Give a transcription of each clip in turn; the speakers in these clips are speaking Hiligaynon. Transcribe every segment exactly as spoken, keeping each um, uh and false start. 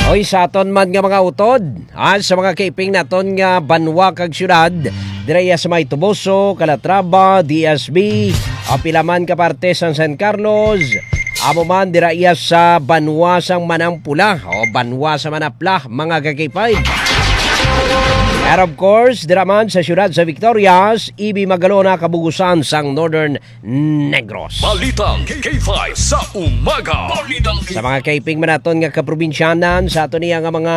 Oy, sa aton man nga mga utod, ah, sa mga kaiping naton nga banwa kag syudad, dira iya sa may Toboso, Calatrava, D S B, ah, pila man ka parte sang San Carlos, amo man dira iya sa banwa sang Manang Pula o banwa sa Manapla, mga ka-K five. And of course, dira man sa siyudad sa Victorias, Ibi Magalona, kabugusan sang Northern Negros. Balitang K five sa umaga. Balitang Sa mga kaiping man naton nga kaprobinsyanan, sa aton niya nga mga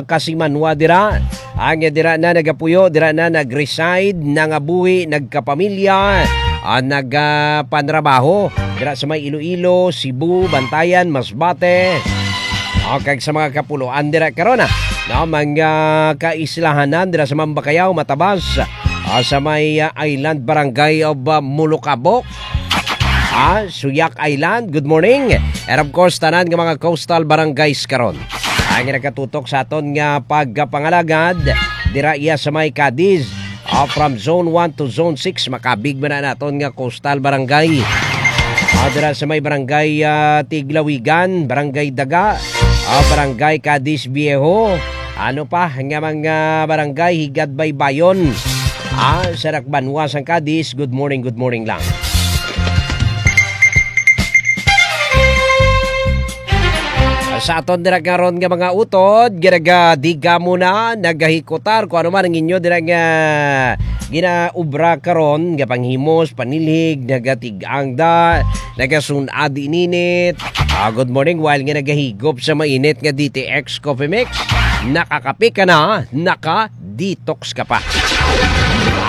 kasimanwa dira, ang dira na nagapuyo, dira na nag-reside, nangabuhi, nagkapamilya, ah, nagapanrabaho dira sa may Iloilo, Cebu, Bantayan, Masbate, o kag sa mga kapuloan dira karon, ah, no, mga kaislahanan dira sa Mambakayao, Matabas, ah, sa may, ah, Island Barangay of, ah, Mulukabok, ah, Suyak Island. Good morning. And of course, tanan nga mga coastal barangays karon. Ang nakatutok sa aton nga pagpangalagad, dira iya sa may Cadiz. Ah, from Zone one to Zone six, makabig man na naton nga coastal barangay. Ah, dira sa may barangay, ah, Tiglawigan, barangay Daga, ah, barangay Cadiz Viejo. Ano pa nga mga barangay, Higad Baybayon. Ah, sa Rakbanwa, sang Cadiz. Good morning, good morning lang. Sa aton dira karon nga mga utod, ginagadiga mo na, nagahikutar, kung ano man ang inyo dira nga ginaubra karon, nga panghimos, panilhig, nagatig-angda, nagasun-ad ininit. Ah, good morning, while nga nagahigop sa mainit nga D T X Coffee Mix, nakakape ka na, naka detox ka pa.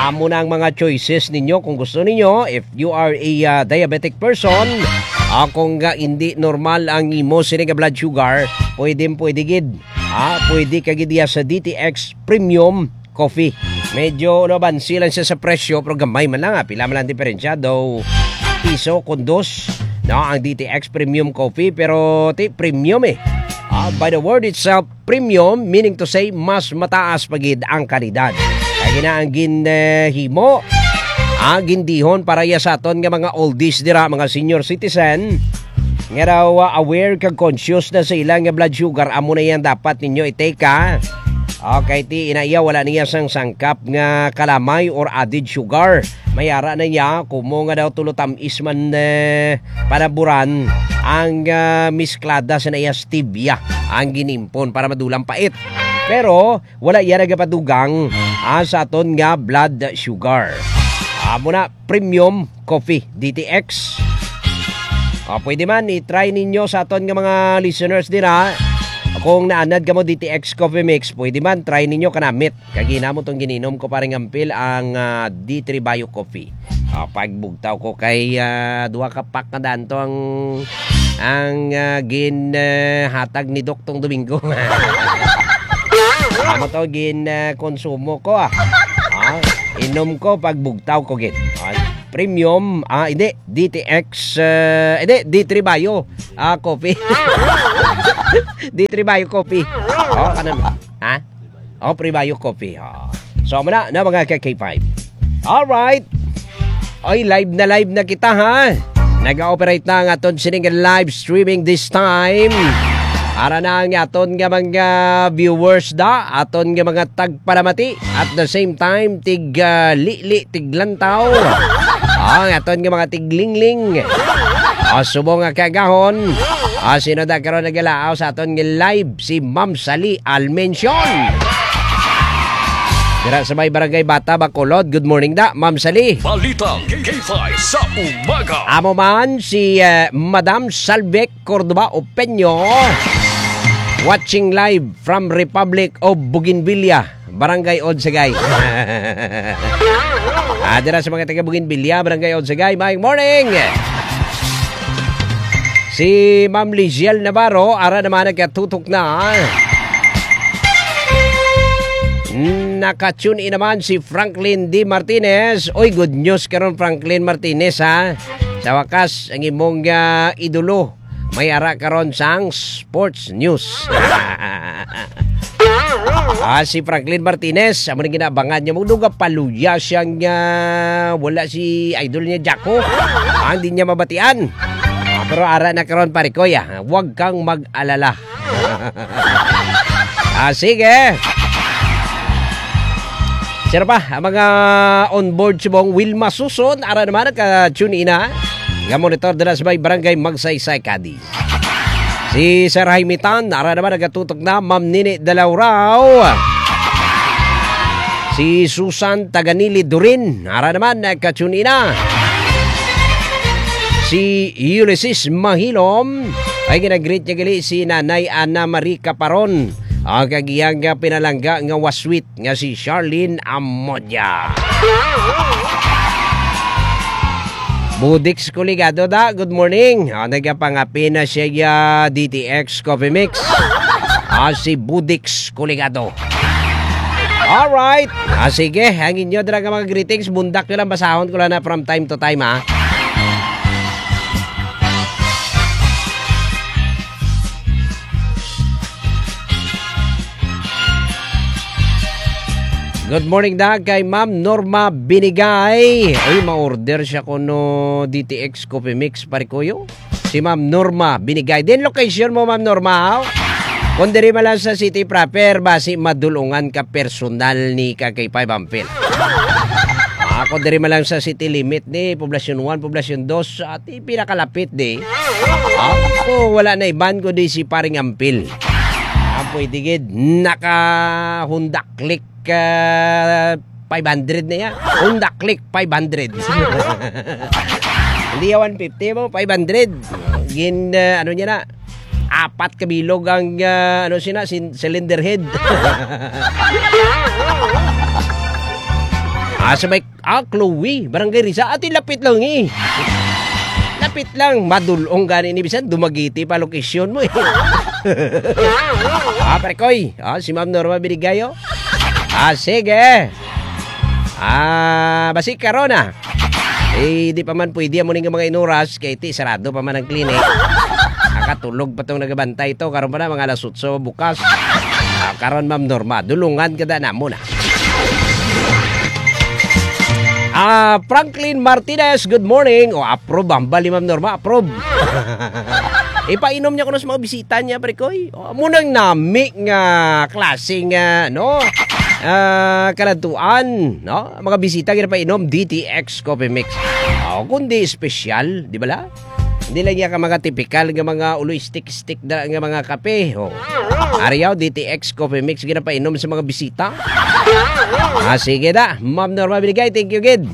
Amo na ang mga choices ninyo kung gusto ninyo. If you are a, uh, diabetic person, uh, kung, uh, hindi normal ang imo sini nga blood sugar, pwede, pwede gid. Ah, pwede ka gid iya sa D T X Premium Coffee. Medyo nabansi lang siya sa presyo, pero gamay man lang, ah. Pila man lang diferensya, daw piso kung dos, no, ang D T X Premium Coffee, pero ti premium eh. Ah, by the word itself, premium, meaning to say, mas mataas pa gid ang kalidad. Kay gina ang gin, eh, himo, ang gindihon para iya sa aton nga mga oldies dira, mga senior citizen, nga daw, ah, aware kag conscious na sa ila nga blood sugar, amo na yan dapat ninyo i-take, ha. Okay, ti ina iya, wala niya sang sangkap nga kalamay or added sugar. May ara na niya, kumo nga daw tulo tamis man, eh, panaburan ang, ah, misklada sa naiya stevia ang ginimpon para madulang pait. Pero wala iya nagapadugang, ah, sa aton nga blood sugar. Amo na, premium coffee, D T X. Ah, pwede man, i-try ninyo sa aton nga mga listeners din, ha. Kung naanad kamo D T X Coffee Mix, pwede man, try ninyo kanamit. Kagina mo tong gininom ko, paring Ampil, ang, ah, D three Bio Coffee. Ah, pagbugtaw ko kay, ah, duha ka pack na daan to ang, ang, ah, gin, ah, hatag ni Doc tong Domingo. Amo to gin, ah, konsumo ko, ah. Ah, inom ko pagbugtaw ko gid. Ah, premium, ah, hindi, D T X, ah, hindi, D three Bio, ah, coffee. D three Bio Coffee. Oh, kanan. Ha? Oh, Pre Bio Coffee. Oh. So, amo na, na mga ka K five. Alright. Oy, live na live na kita, ha? Nag-ooperate na ang aton sining live streaming this time. Ara na ang aton nga mga viewers da, aton nga mga tagpalamati. At the same time, tig, ah, lili, tiglantaw. Ang aton nga mga tiglingling. Ah, subong nga kagahon. Ah, sino da karon nagalaaw sa aton nga live? Si Ma'am Sally Almencion. Dira sa may Barangay Bata, Bacolod. Good morning da, Ma'am Sally. Balitang K five sa umaga. Amo man si, eh, Madam Salvec Cordoba Opeño. Watching live from Republic of Bougainvillea, Barangay Odsagay. Ah, dira sa mga taga Bougainvillea, Barangay Odsagay, maayong morning. Si Ma'am Liziel Navarro, ara naman nagkatutok na. Naka-tune in naman si Franklin D Martinez. Oy, good news karon, Franklin Martinez, ha. Sa wakas, ang imong, ah, idolo may ara karon sang sports news. Ah, si Franklin Martinez, amo ning ginabangan niya. Mao nga paluya siya nga wala si idol niya, Jacko. Ang di niya mabatian. Ah, Pero ara na karon, pare ko, ya. Huwag kang mag-alala. Ah, sige. Sino pa? Ang mga on board subong, Wilma Suson, ara naman, naka-tune in na. Nga monitor dira sa may barangay Magsaysay, Cadiz. Si Sir Jaime Tan, ara naman, nagatutok na. Ma'am Nini Dalaurao. Si Susan Taganili Durin, ara naman, nagka-tune in na. Si Ulysses Mahilom, ay ginag-greet niya gali si Nanay Ana Marie Caparon, ang kag iyang, ah, pinalangga nga waswit nga si Charlene Amodia. Budix Kuligado da, good morning. Ah, nagapangapi na siya, ah, D T X Coffee Mix. Ah, si Budix Kuligado. Alright. Ah, sige, ang inyo dira nga mga greetings, bundak nyo lang, basahon ko lang na from time to time, ha. Good morning, Dag, kay Ma'am Norma Binigay. Uy, ma-order siya kuno D T X Coffee Mix, pare ko, yo. Si Ma'am Norma Binigay. Din location mo, Ma'am Norma, haw? Kung diri man lang sa city proper, basi madulungan ka personal ni ka kay Five Ampil. Ah, kung diri man lang sa city limit ni Poblacion one, Poblacion two, ati pinakalapit di. Ah, oh, wala na iban kundi si Paring Ampil. Ah, pwede gid naka Honda Click, ah, five hundred na ya. Honda Click five hundred. Hindi ya one fifty mo, five hundred. Gin, ah, ano niya na, apat ka bilog ang, ah, ano siya na, sin-, cylinder head. Ah, sa may, ah, Chloe, Barangay Risa. Ati, lapit lang eh. Lapit lang. Madulong gani ni bisan, Dumaguete pa location mo eh. Ah, pare koy. Ah, si Ma'am Norma Binigayo. Ah, sige. Ah, basi karon na. Eh, di pa man pwede amo ning mga inuras, kay ti sarado pa man ang clinic. Nakatulog pa tong nagabantay to, karon pa na mga alas otso bukas. Ah, karon, Ma'am Norma, dulungan ka da namo na. Ah, Franklin Martinez, good morning. O, approve, hambal ni Ma'am Norma, approve. Ipainom niya kuno sa mga bisita niya, pare koy. O, amo nang nami nga klase nga, no? Ah, kaladtuan, no? Mga bisita ginapainom, D T X Coffee Mix. O, kundi espesyal, di ba la? Hindi lang yan ka mga tipikal nga mga ulo stick-stick na nga mga kape. O. Ariyaw, D T X Coffee Mix, ginapainom sa mga bisita. Ah, sige na. Ma'am Norma Binigay, thank you, gid.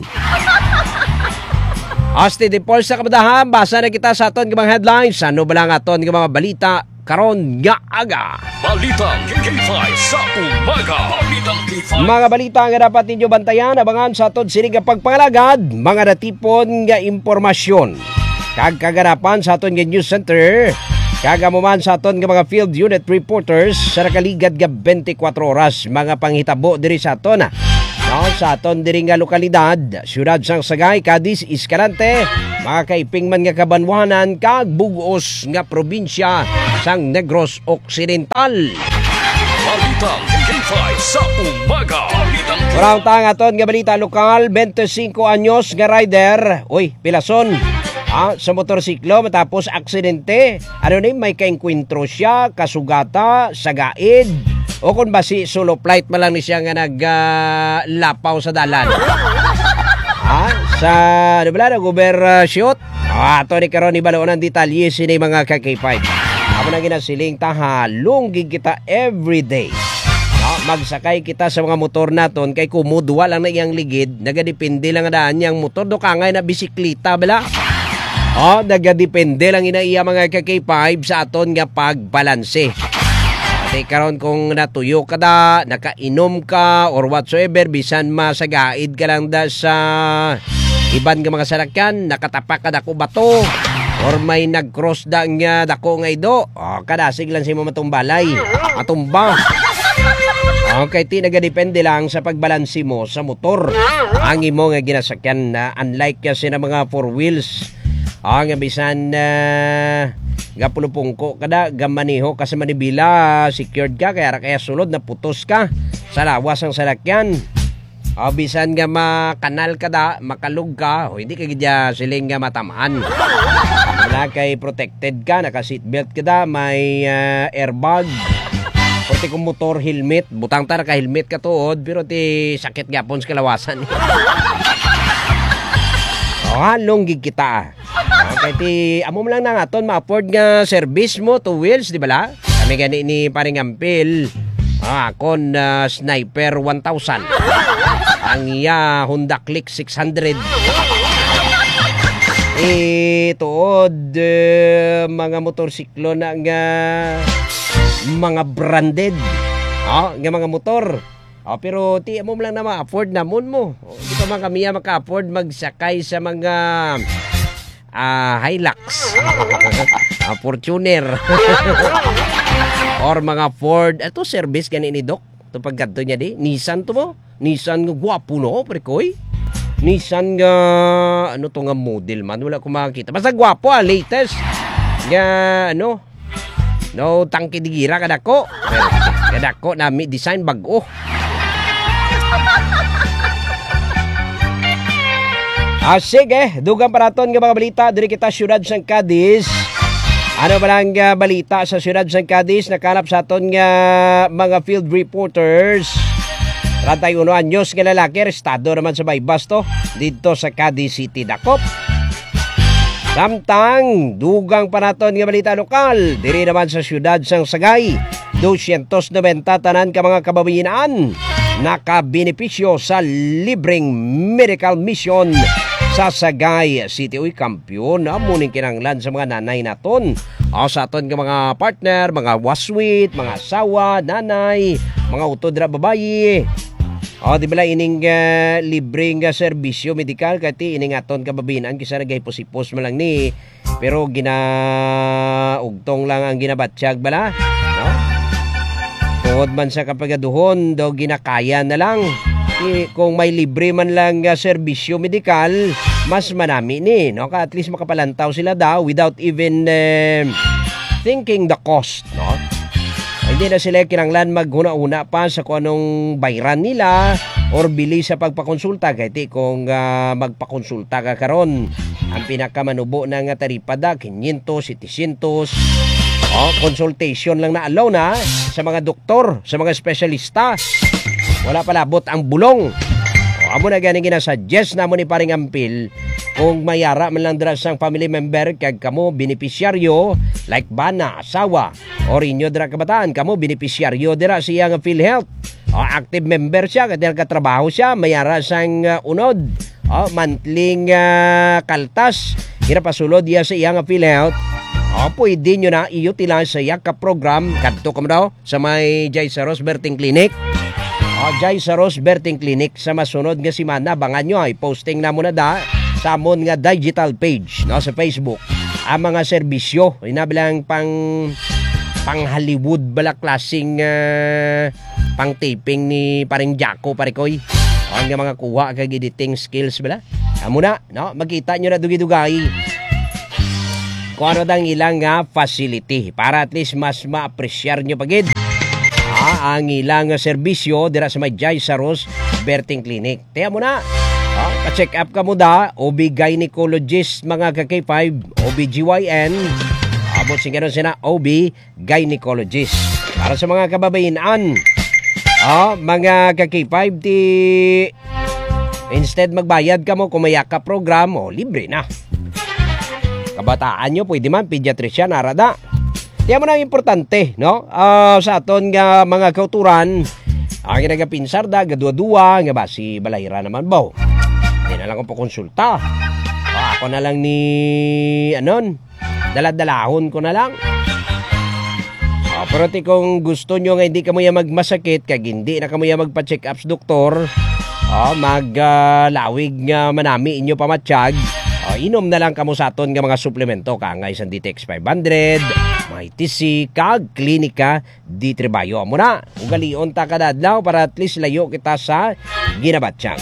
Asti di Paul sa kabadahan, basa na kita sa aton nga mga headlines. Ano ba lang aton nga mga balita karon nga aga? Balitang K five sa umaga. Balitang K five. Mga balita nga dapat ninyo bantayan, abangan sa aton sini nga pagpangalagad, mga natipon nga impormasyon kag kaganapan sa aton nga news center, kag amo man sa aton nga mga field unit reporters sa nakaligad nga twenty-four oras, mga panghitabo diri sa aton, no, sa aton diri nga lokalidad, siyudad sang Sagay, Cadiz, Escalante, mga kaiping man nga kabanwanan, kag bug-os nga probinsya sang Negros Occidental. Balitang K five sa umaga. Balitang K five. Murang ta ang aton nga balita lokal, twenty-five anyos nga rider, uy, pilason, ah, sa motorsiklo matapos aksidente. Ano ni, may kaengkwentro siya, kasugata, sagaid, o kung basi solo flight man lang ni siya nga nag, ah, lapaw sa dalan. Ha? Sa, ano ba lang, nag-overshoot? Ah, ato ni karon ibaloon ang detalye sini, mga ka-K five. Amo na ginasiling ta, halong gid kita everyday. No? Magsakay kita sa mga motor naton kay kumudwa lang na iyang ligid, nagadepende lang daan niyang motor, do kangay na bisikleta bala. Oh, nagadepende lang ina iya, mga ka-K five, sa aton nga pagbalanse. Ate, karon kung natuyo ka da, nakainom ka, or whatsoever, bisan masagaid ka lang da sa iban nga mga salakyan, nakatapak ka dako bato, or may nag-cross da nga dako nga ido, oh, kadasig lang sa imo matumbalay. Matumba. Okay, ti nagadepende lang sa pagbalanse mo sa motor ang imo nga ginasakyan na, unlike kasi na mga four wheels, ah, nga bisan, ah, gapulupungko ka da, gamaneho ka sa manibela, secured ka, kaya ra kaya sulod, naputos ka sa lawas ang salakyan. Ah, bisan nga makanal ka da, makalog ka, o hindi ka gid ya siling nga matamaan. Wala kay protected ka, naka-seatbelt ka da, may, ah, airbag. Pati kung motor, helmet. Butang ta, naka-helmet ka tuod, pero ti sakit gyapon sa kalawasan. O, halong gid kita, ah. Okay, ti, amo man lang na nga aton ma-afford nga service mo, two wheels, di ba la? Kami gani ni Paring Ampil. Ah, akon, ah, Sniper one thousand. Ang iya Honda Click six hundred. Eh, tuod, eh, mga motorsiklo na nga mga branded. Oh, nga mga motor. Oh, pero ti amo lang na ma-afford namon mo. Oh, di pa man kami ya maka-afford magsakay sa mga, ah, Hilux. Ah, Fortuner. Or mga Ford. Ato service gani ni Doc. Ito pagkadto niya di. Nissan to mo. Nissan nga gwapo, no, pre ko, eh. Nissan nga, ano to nga model man, wala ko makakita. Basta gwapo, ah, latest. Nga, ano, no, tangke di gira, kadako. Kadako, nami design, bag-o. Ah, sige, dugang pa naton nga mga balita diri kita siyudad sang Cadiz. Ano ba lang, ah, balita sa siyudad sang Cadiz? Nakalap sa aton nga mga field reporters. Treinta y uno anyos nga lalaki, arestado naman sa Baybas to, didto sa Cadiz City, dakop. Samtang, dugang pa naton nga balita lokal, diri naman sa siyudad sang Sagay, dosyentos nobenta tanan ka mga kababayin-an nakabenepisyo sa libreng medical mission sa Sagay City. Uy, kampiyon, amo ning kinahanglan sa mga nanay naton. O, sa aton nga mga partner, mga waswit, mga asawa, nanay, mga utod ra babayi. O, di ba la ining, ah, libre nga serbisyo medikal, kay ti ining aton kababayin-an, kisa nagahipos-hipos man lang ni, pero ginaugtong lang ang ginabatyag bala, no? Tungod man sa kapagaduhon, daw ginakaya na lang. Ti, kung may libre man lang nga serbisyo medikal, mas manami ni, no? Ka at least makapalantaw sila daw without even, eh, thinking the cost, no? Hindi na sila kinahanglan maghuna-huna pa sa kung anong bayran nila or bili sa pagpakonsulta. Kay ti kung, ah, magpakonsulta ka karon, ang pinakamanubo na nga taripa da, quinientos, setecientos. Oh, consultation lang na alone, ha, sa mga doktor, sa mga espesyalista. Wala pa labot ang bulong. Oh, amo na gani ginasuggest namo ni Paring Ampil, kung may ara man lang dira sang family member kag kamo benepisyaryo, like bana, asawa, or inyo dira kabataan, kamo benepisyaryo dira sa iya nga PhilHealth. O, active member siya, kay nagatrabaho siya, may ara sang, ah, unod. O, monthly nga kaltas, ginapasulod iya sa iya nga PhilHealth. O, pwede nyo na i-utilize sa iya ka program. Kadto kamo daw sa may Jai Saros Berting Clinic. O, Jai Saros Berting Clinic sa masunod nga semana. Abangan nyo, ay posting namo na da sa amon nga digital page, no, sa Facebook. Ang mga serbisyo, inabilang pang, pang Hollywood bala klaseng, ah, pang taping ni Paring Jaco, pare koy. Ang nga mga kuha kag editing skills bala. Amo na, no? Makita nyo na dugay-dugay kung ano dang ilang nga facility para at least mas ma-appreciate nyo pa gid, ah, ang ilang nga serbisyo dira sa may Jai Saros Berting Clinic. Tiya mo na, ah, pa-check up ka mo da, O B gynecologist, mga ka-K five, O B G Y N, amo sing karon sina O B gynecologist. Para sa mga kababayin-an, ah, mga ka-K five, ti instead magbayad kamo kung may yaka program, o, libre na. Kabataan nyo, pwede man, pediatrician, ara da. Tiya mo na ang importante, no? Ah, sa aton nga mga kauturan, ang nagapinsar da, gadwa-dwa, nga ba, si Balayra naman ba? Di na lang ko pakonsulta. Ah, ako na lang ni, anon, daladalahon ko na lang. Ah, pero ti kung gusto nyo nga hindi kamo ya magmasakit, kag hindi na kamo ya magpa-check-ups, doktor, ah, mag, ah, lawig nga manami inyo pamatyag, ah, inom na lang kamo sa aton nga mga suplemento, kaangay sang D T X five hundred, Mighty C, kag Klinika di Trebayo. Amo na, ugalion ta kada adlaw para at least layo kita sa ginabatyag.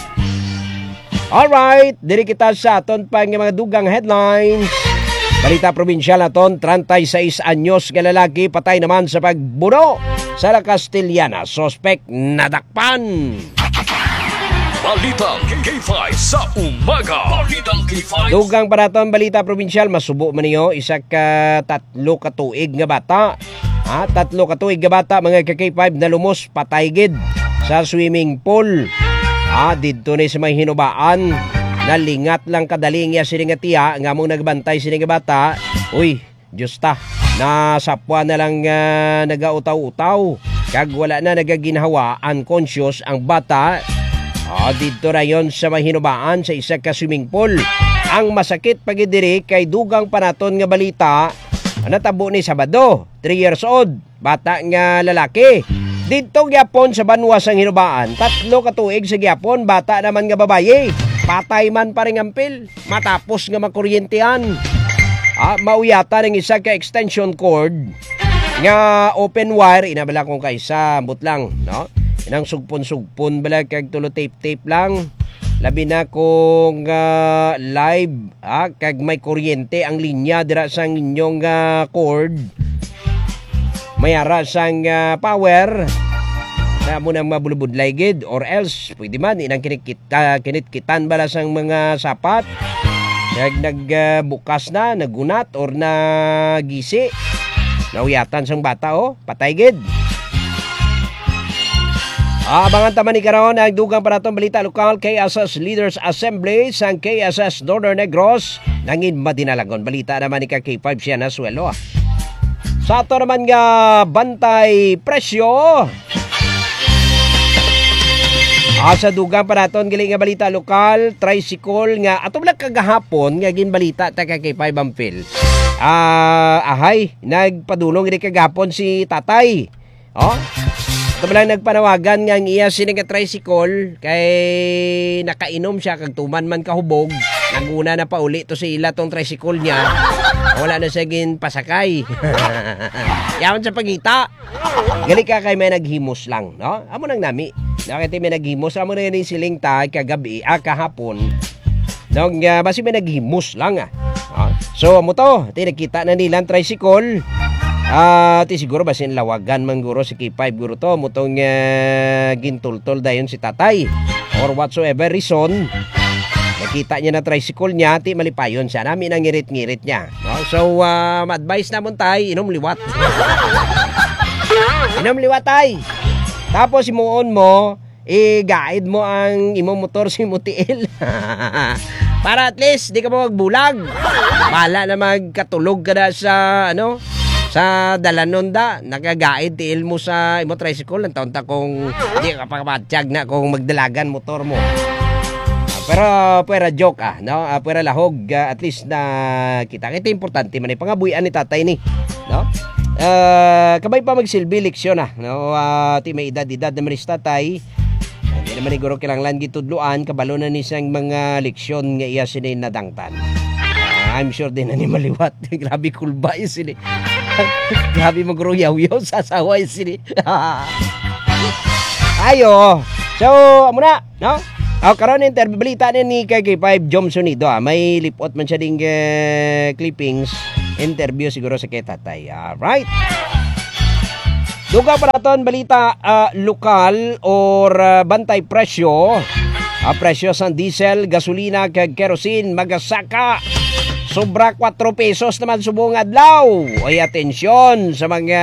Alright, diri kita sa aton pa nga mga dugang headlines. Balita probinsyal naton, treinta y seis anyos nga lalaki patay naman sa pagbuno sa La Castellana. Suspek nadakpan. Balitang K five sa umaga. Balitang K five. Dugang pa naton balita probinsyal, masubo man niyo, isa ka tatlo ka tuig nga bata. Ha, tatlo ka tuig nga bata, mga ka K five, nalumos, patay gid sa swimming pool. Ha, didto ni sa may Hinubaan, nalingat lang kadali ang iya sini nga tiya, nga among nagbantay sini nga bata. Uy, Diyos ta, nasapwa na lang, ah, nagautaw-utaw, kag wala na nagaginhawa, unconscious ang bata. Ah, didto rayon sa may Hinubaan sa isa ka swimming pool. Ang masakit pa gid diri kay dugang pa naton nga balita, natabo ni Sabado, three years old, bata nga lalaki. Didto gyapon sa banwa sang Hinubaan, tatlo ka tuig sa gyapon, bata naman nga babayi. Patay man, Paring Ampil, matapos nga makuryentehan. Ah, mauyatan ang isa ka extension cord nga open wire, ina bala kung kaisa, ambot lang, no? Inang sugpon-sugpon bala kag tulo tape-tape lang. Labi na kung, ah, live, ah, kag may kuryente ang linya dira sa inyong, ah, cord. May ara sang, ah, power. Na mo nang mabulubudlay gid, or else pwede man inang kinikita, kinitkitan bala sang mga sapat. Kag nag, ah, bukas na, nagunat or nagisi. Nauyatan sang bata, oh, patay gid. Ah, abangan ta man ni karon ang dugang pa naton balita lokal, K S S Leaders Assembly sang K S S Northern Negros. Nangin madinalagon balita naman ni ka K five siya na swelo, ah. Sa ato naman nga bantay presyo. Ah, sa dugang pa naton gali nga balita lokal, tricycle nga ato lang kagahapon nga ginbalita ta ka K five Ampil. Ah, ahay, nagpadulong gid kagahapon si tatay. Oh? Ito lang nagpanawagan nga ang iya sini nga tricycle kay nakainom siya kag tuman man kahubog. Naguna na pauli to sa ila tong tricycle niya. Wala na siya ginpasakay. Yaon sa pangita. Gali ka kay may naghimos lang, no? Amo nang nami. Nakita may naghimos, amo na yung siling ta kagabi, ah, kahapon. Nung, ah, basi may naghimos lang, ah. Ah, so, amo to. Ti nakita na nila ang tricycle. Ah, ti siguro basi lawagan man guro si K five guro to. Amo tong, ah, gintultol dayon si tatay. Or whatsoever reason, nakita niya na tricycle niya, ti malipayon siya. Nami nang ngirit-ngirit niya. No? So, ah, ma-advise namon tay, inom liwat. Inom liwat tay. Tapos himuon mo, i-guide mo ang imo motor sa imo tiil. Para at least di ka mo magbulag. Bala na magkatulog ka na sa, ano, sa dalanon da. Nagagaid tiil mo sa imo tricycle. Ang taon ta kung di ka pakapatyag na kung magdalagan motor mo. Ah, pero pwera joke, ah, no? Ah, pwera lahog, ah, at least na kita. Kaya importante man, eh, pangabuhian ni tatay ni, no? Ah, kabay pa magsilbi leksyon, ah, no? Ah, ti may edad-edad naman ni tatay. Hindi naman siguro kinahanglan gitudloan, kabalo na ni siyang mga leksyon nga iya sini nadangtan. Ah, I'm sure din na ni maliwat. Grabe kulba yun sini. Grabe maguruyawyaw sa asawa yun sini. Ayo. So, amo na, no? Aw, karon interview, balita na ni kay K five Jom Sonido, ah. May lipot man siya ding, eh, clippings. Interview siguro sa kay tatay. Alright. Dugang pa naton balita, ah, lokal or, ah, bantay presyo. Ah, presyo sang diesel, gasolina, kag kerosene magasaka sobra kwatro pesos naman subong adlaw. Oy, atensyon sa mga,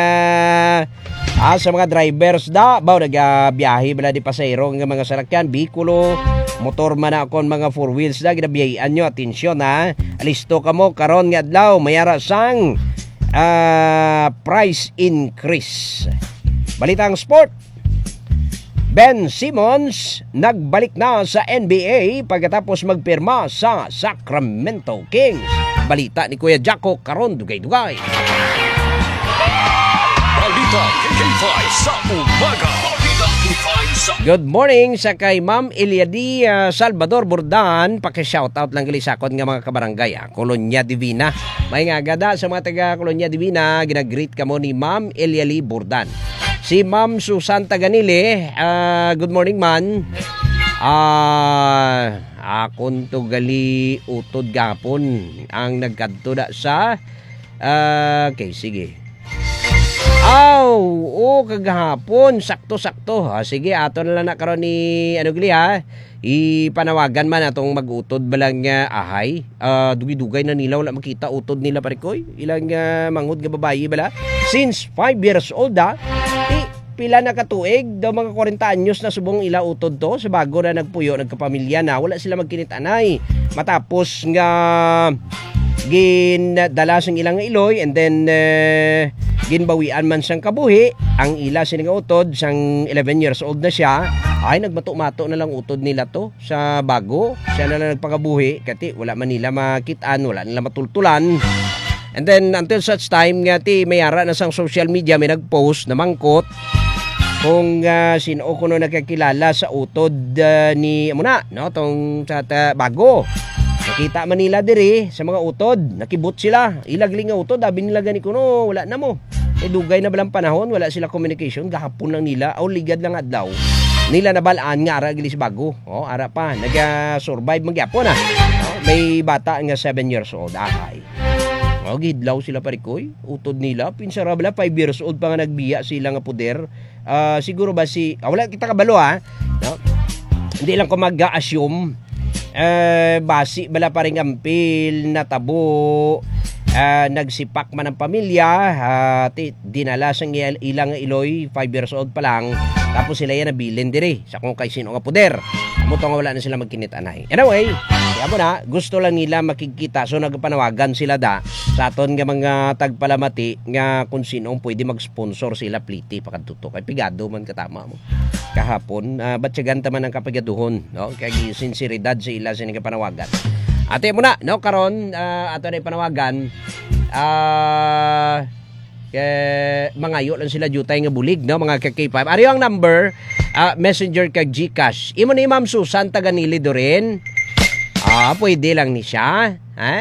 ah, sa mga drivers da. Baw, nagabiyahe bala di pasahero nga mga salakyan, bikulo, motor man na kon mga four wheels da, ginabiyahian nyo. Atensyon, ha. Listo kamo karon nga adlaw, may ara sang, ah, price increase. Balitang sport. Ben Simmons nagbalik na sa N B A pagkatapos magpirma sa Sacramento Kings. Balita ni Kuya Jacko karon, dugay-dugay. Balita K five sa umaga. Balita K five sa Good morning sa kay Ma'am Eliadi, ah, Salvador Bordan. Paki-shoutout lang gali sa akon nga mga kabarangay, ah. Colonia Divina. May nga gada sa mga taga Colonia Divina, ginagreet kamo ni Ma'am Eliali Bordan. Si Ma'am Susan Taganili, ah, good morning, man. Ah, akon to gali utod gapon ang nagkadto da sa, ah, okay, sige. Aw, kagahapon, sakto-sakto. Ah, sige, ato na lang na karon ni, ano gali, ha? Ipanawagan man atong mag-utod ba lang nga ahay. Ah, dugay-dugay na nila wala makita utod nila, pare ko, eh. Ilang, ah, manghod nga babayi bala. Since five years old, ah. Ti, pila na ka tuig, daw mga kwarenta anyos na subong ila utod to, sa bago na nagpuyo, nagkapamilya na, wala sila magkinit-anay. Matapos nga gindala sang ilang iloy, and then, eh, ginbawian man sang kabuhi ang ila sini nga utod, sang eleven years old na siya, ay nagmato-mato na lang utod nila to sa bago. Siya na lang nagpangabuhi, kati wala man nila makit-an, wala nila matultulan. And then, until such time nga ti may ara na sang social media, may nag-post na mangkot kung, ah, sino kuno nakakilala sa utod, ah, ni, amo na, no, tong sa ta-, bago. Nakita man nila diri sa mga utod, nakibot sila. Ila gali nga utod, abi nila gani kuno, wala na mo. Eh, dugay na balang panahon, wala sila communication, gahapon lang nila, o ligad lang adlaw. Nila nabalaan nga ara gali si bago. Oh, ara pa, naga-survive man gyapon, ah. Oh, may bata nga seven years old, ahay. Oh, gihidlaw sila, pare ko, eh. Utod nila, pinsara bala, five years old pa nga nagbiya sila nga poder. Ah, siguro ba si, ah, wala kita kabalo, ha? No? Hindi lang ko mag-assume. Eh, basi bala, paring ampil, natabo, ah, nagsipak man ang pamilya, ah, ti-, dinala sang il-, ilang iloy, five years old pa lang, tapos sila yan nabilin diri sa kung kay sino nga poder. Amo to nga wala na sila magkinit-anay. Anyway, kaya mo na, gusto lang nila makigkita. So, nagpanawagan sila da sa aton nga mga tagpalamati nga kung sino ang pwede mag-sponsor sila pliti pakadto to. Kay pigado man katama mo. Kahapon, ah, batyagan ta man ang kapigaduhon, no? Kay sinseridad sa ila sa nagpanawagan. Ate mo na, no? Karon, ah, ato na ipanawagan. Ah, Eh, mangayo lang sila diutay nga bulig, no, mga ka-K five. Ari ang number, ah, Messenger kag GCash. Imo ni Ma'am Susan taga Nili Dorin. Ah, pwede lang ni siya, ha?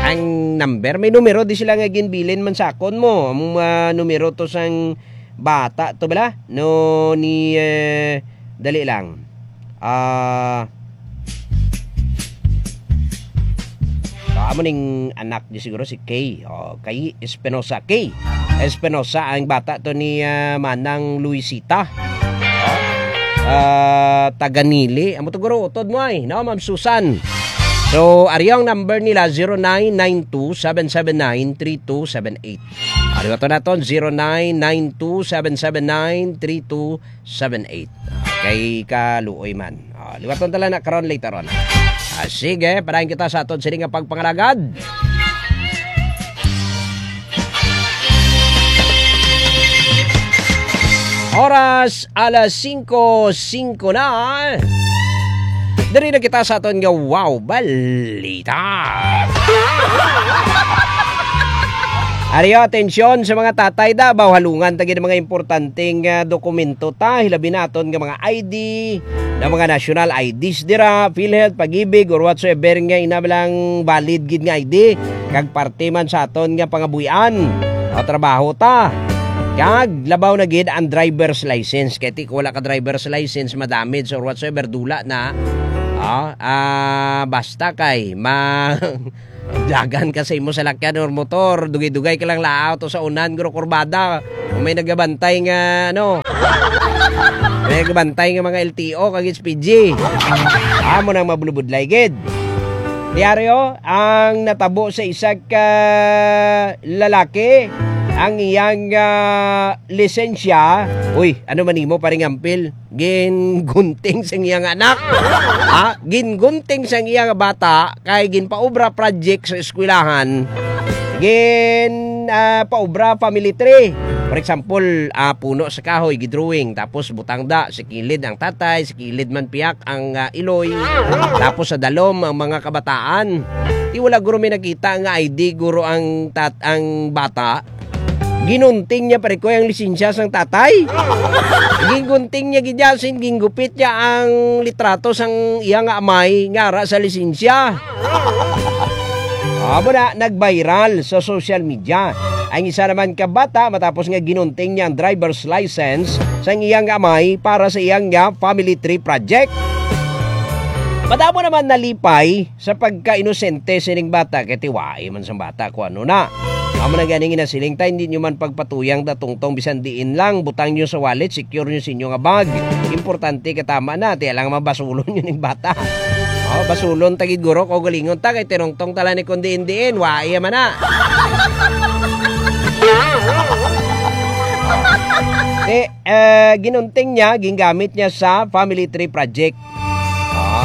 Ang number, may numero di sila nga ginbilin man sa akon mo. Ang, ah, numero to sang bata to bala, no, ni, eh, dali lang. Ah, so, amo ning anak di siguro si Kay. Oh, kay Espinosa. Kay Espinosa ang bata to ni, ah, Manang Luisita. Oh, ah, taga Nili. Amo to guro, utod mo ay, no, Ma'am Susan? So, ari ang number nila, zero nine nine two seven seven nine three two seven eight. Ari, bato naton, zero nine nine two seven seven nine three two seven eight. Kay kaluoy man. Ah, liwaton ta lang na karon, later on. Ah, sige, padayon kita sa aton sini nga pagpangalagad. Oras, alas singko singko na. Diri na kita sa aton nga Wow Balita. Ariyo, atensyon sa mga tatay da, baw halungan ta gid mga importanteng, ah, dokumento ta, hilabi naton nga mga I D, na mga national I Ds dira, PhilHealth, Pag-ibig, or whatsoever nga ina lang valid gid nga I D, kag parte man sa aton nga pangabuhian o trabaho ta. Kag labaw na gid ang driver's license. Kay ti, kung wala ka driver's license, madamage or whatsoever, dula na. Ah, ah, basta kay ma-, dagan ka sa imo salakyan or motor, dugay-dugay ka lang laaw to sa unan, guro, kurbada. Kung may nagabantay nga, ano, may nagabantay nga mga L T O kag S P G. Amo nang mabulubudlay gid. Diaryo ang natabo sa isa ka lalaki, ang iyang, ah, lisensya. Uy, ano man nimo, paring ampil? Gingunting sang iya nga anak. Ha? Gingunting sang iya nga bata kay ginpaobra project sa eskwelahan. Gin, ah, paobra family tree. For example, ah, puno sa kahoy, gidrawing, tapos butang da, sa kilid ang tatay, sa kilid man piyak ang, ah, iloy, tapos sa dalom ang mga kabataan. Di wala guro may nakita nga I D guro ang tat-, ang bata. Ginunting niya, pare ko, ang lisensya sang tatay. Gingunting niya gid, sin ginggupit niya ang litrato sang iya nga amay nga ara sa lisensya. Amo na, nag-viral sa social media ang isa naman ka bata matapos nga ginunting niya ang driver's license sang iyang amay para sa iyang nga family tree project. Madamo naman nalipay sa pagkainosente sining bata, kay tiwai man sang bata kung ano na. Amo na gani nga nasiling ta, hindi nyo man pagpatuyang ta tungtong bisan diin lang. Butang nyo sa wallet, secure nyo sa inyo nga bag. Importante ka tama na, tiya lang mabasulon nyo ning bata. Oh, basulon ta gid guro, kaugalingon ta, kay tinungtong ta lang ni kung diin-diin, wa iya man na. Eh, eh, ginunting niya, gingamit niya sa Family Tree Project.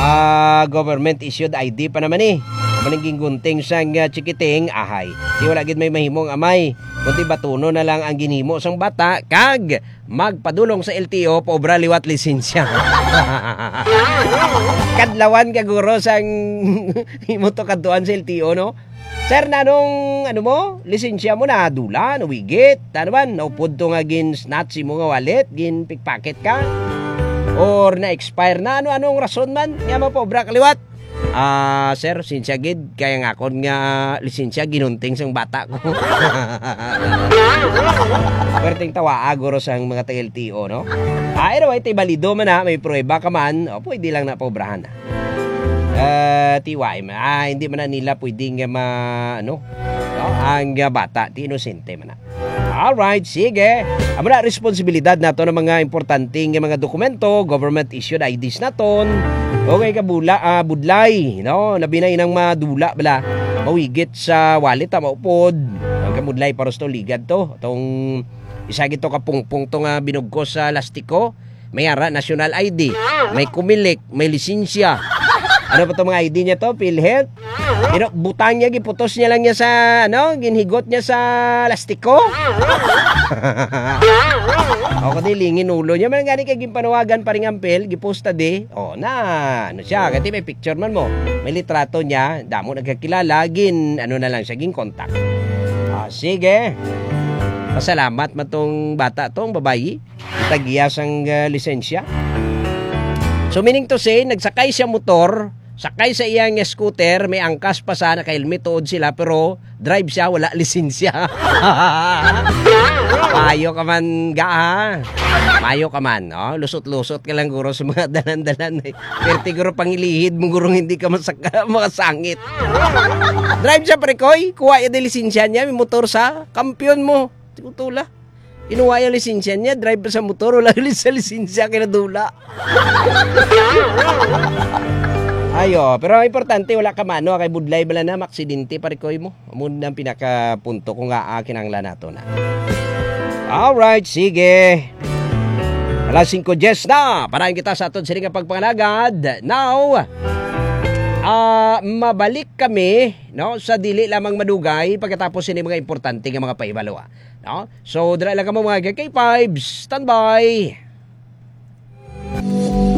Ah, government issued I D pa naman eh. Amo ning gingunting sang, ah, chikiting, ahay. Di wala gid may mahimo ang amay. Kundi batunon na lang ang ginhimo sang bata, kag magpadulong sa L T O, paobra liwat lisensya. Kadlawan ka guro sang imo to kadtuan sa L T O, no? Sir, nanong, ano mo? Lisensya mo na dula, nawigit. Ano man, naupod to nga gin-snatch imo nga wallet, gin-pickpocket ka? Or na-expire na? Ano, anong rason man nga mapaobra ka liwat? Ah, sir, sinsya gid, kaya nga akon nga lisensya ginunting sang bata ko. Perting tawaa, guro, sang mga taga-L T O, no? Ah, anyway, ti balido man na, may pruweba ka man, o, pwede lang na paobrahan na. Ah, ti wa man, ah, hindi man na nila pwedeng, ah, ma-, ano, no? Ang, ah, bata, ti inosente man na. Alright, sige. Amo na, responsibilidad nato ng mga importante nga mga dokumento, government issued I Ds naton. Okay, kabula, ah, budlay, no? Labi na inang madula bala. Mawigit sa wallet, ah, maupod. Ang kabudlay, paros to, ligad to. Itong isa gito ka pungpong to nga binugkos sa lastiko. May ara, national I D. May Comelec, may lisensya. Ano pa to mga I D niya to? PhilHealth? Pero butang niya, giputos niya lang niya sa, ano, ginhigot niya sa lastiko. O, kundi lingin ulo niya. Man gani kay ginpanawagan pa rin ang PhilHealth, giposta di. O, na, ano siya, kasi may picture man mo. May litrato niya, damo nagkakilala, gin, ano na lang siya, gin contact. Ah, sige. Pasalamat man tong bata, tong babayi. Tagiya sang, ah, lisensya. So, meaning to say, nagsakay siya motor, sakay sa iyang scooter, may angkas pa sa, naka-helmet tuod sila, pero drive siya, wala lisensya. Mayo ka man, ga, ha? Mayo ka man, oh. Lusot-lusot ka lang, guro, sa mga dalan-dalan, eh. Pero siguro pangilihid mo, guro, hindi ka masaka-, makasangit. Drive siya, pre, koy. Kuha niya din lisensya niya, may motor sa kampiyon mo. Siguro tula. Kinuha yung lisensya niya, drive pa sa motor, wala ulit sa lisensya, kinadula. Ayo, pero ang importante, wala ka mano, kay budlay bala na, maksidente, parikoy mo. Amo na ang pinakapunto kung nga, ah, kinahanglan nato na. Alright, sige. Alas singko diyes na, parahin kita sa aton sini nga pagpangalagad. Now, ah, mabalik kami, no, sa dili lamang madugay pagkatapos sini mga importante nga mga pahibalo, ah. No? So, dira lang kamo, mga ka K five. Standby!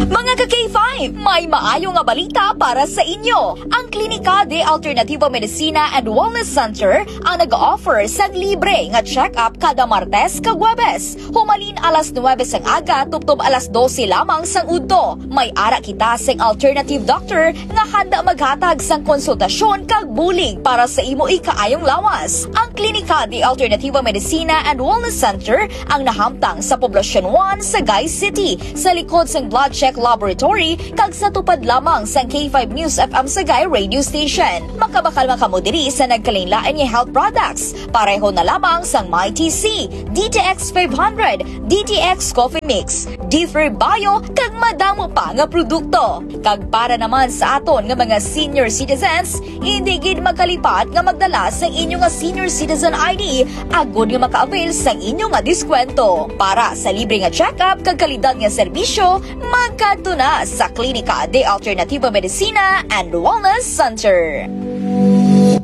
Mga ka K five, may maayo nga balita para sa inyo. Ang Klinika de Alternativo Medicina and Wellness Center ang nag-offer sang libre nga check-up kada Martes kag Huwebes, humalin alas nuwebe sang aga tubtob alas dose lamang sang udto. May ara kita sing alternative doctor nga handa maghatag sang konsultasyon kag bulig para sa imo ikaayong lawas. Ang Klinika de Alternativo Medicina and Wellness Center ang nahamtang sa Poblacion one, Sagay City, sa likod sang Blood Check Laboratory kag sa tupad lamang sang K five News F M Sagay Radio Station. Makabakal man kamo diri sa nagkalainlain nga health products, pareho na lamang sang My T C, D T X five hundred, D T X Coffee Mix, Differ Bio, kag madamo pa nga produkto. Kag para naman sa aton nga mga senior citizens, hindi gid magkalipat nga magdala sa inyo nga senior citizen I D agod nga maka-avail sa inyo nga diskwento. Para sa libre nga check-up kag kalidad nga serbisyo, magkadto na sa Klinika de Alternativo Medicina and Wellness Center.